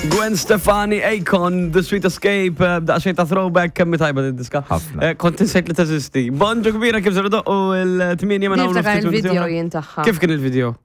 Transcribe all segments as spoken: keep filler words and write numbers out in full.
Gwen Stefani, Akon, The Sweet Escape, eh, daqsxejn ta' throwback, kemm tajba din diska. Ħafna. Eh, Kont insejt li teżisti. Bonġu kbira kif ser u l-tmienja minn hawn Niftakar ftit minuti il-video oħra. jien tagħha. Kif kien il-video?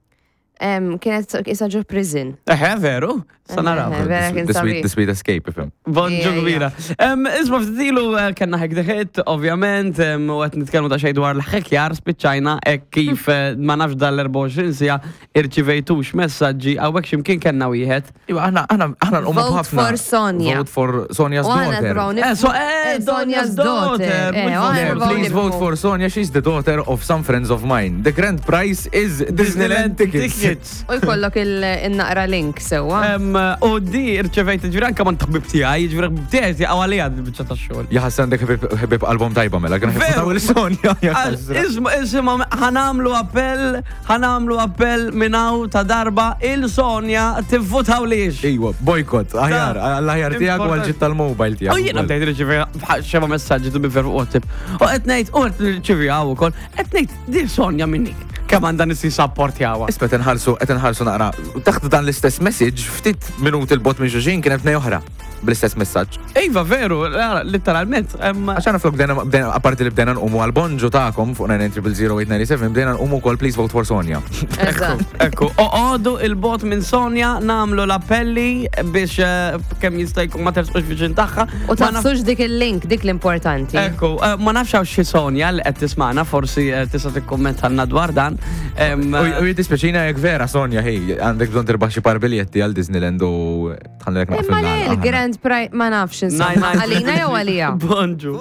Em, Kienet isa ġo prison. Eħe, veru? Sa naraw. Eħe, vera kien The sweet, sabiħ. the sweet escape, ifhem. Bonġu Ija, kbira. Em, Isma ftit ilu eh, kellna Hack the Hit, ovvjament, em, u qed nitkellmu ta' xejn dwar l-ħekjar spiċċajna hekk kif eh, ma nafx dal-erbgħa u għoxrin siegħa irċivejtux messaġġi hawnhekk x'imkien kellna wieħed. Iva, aħna, aħna, aħna nqumu Vote b'ħafna. for Sonia. Vote for Sonia's U aħna daughter. nipprovaw Eh, so, eh, Sonia's daughter. mhux Eh, u vote aħna Le, for nipprovaw please nifhmu. vote for Sonia. She's the daughter of some friends of mine. The grand prize is Disneyland tickets. Tickets. U jkollok il-naqra link sewwa. Em, U di irċevejt ġifieri anke man ħbib tiegħi, ġifieri ħbib tiegħi tiegħu għalija biċċa tax-xogħol. Jaħasra għandek ħbib album tajba mela, kien Veru. ħibib Sonia. jaħasra. Isma, isma, ħa nagħmlu appell, ħa nagħmlu appell minn hawn ta' darba il-Sonja tivvutaw lix. Iwa, boycott, aħjar, għall-aħjar tiegħek u għal-ġid tal-mobile tiegħek. U jiena bdejt nirċivi xeba messaġġi tu bifer fuq WhatsApp. U qed ngħid, u qed nirċivi hawn ukoll, qed ngħid di Sonja minnik. Kemm għandha nisi sapportjawha. Isma' qed inħarsu, qed inħarsu naqra. Taħt dan l-istess message, ftit minuti 'l bogħod minn xulxin kienet tnej oħra bl-istess messaġġ. Iva, veru, literalment. em, Għax aħna flok bdejna, bdejna, apparti li bdejna nqumu għal-bonġu tagħkom fuq nine zero zero eight nine seven, bdejna nqumu kol please vote for Sonia. Eżatt. Ekku, oqogħdu 'il bogħod minn Sonja nagħmlu l-appelli biex eh, kemm jista' jkun ma tersqux viċin tagħha. U Ma naf- tagħfsux dik il-link, dik l-importanti. Ekku, eh, ma nafx hawn xi Sonja li qed tisma'na, forsi eh, tista' tikkummentalna dwar dan. Em, U u jiddispjaċina jekk vera Sonja, hej, għandek bżonn tirbaħ xi par biljetti għal Disneyland u tħallek naqfil. Imma le, il-Grand Prize, ma nafx insomma. Nine, nine, Għalina jew għalija? Bonġu.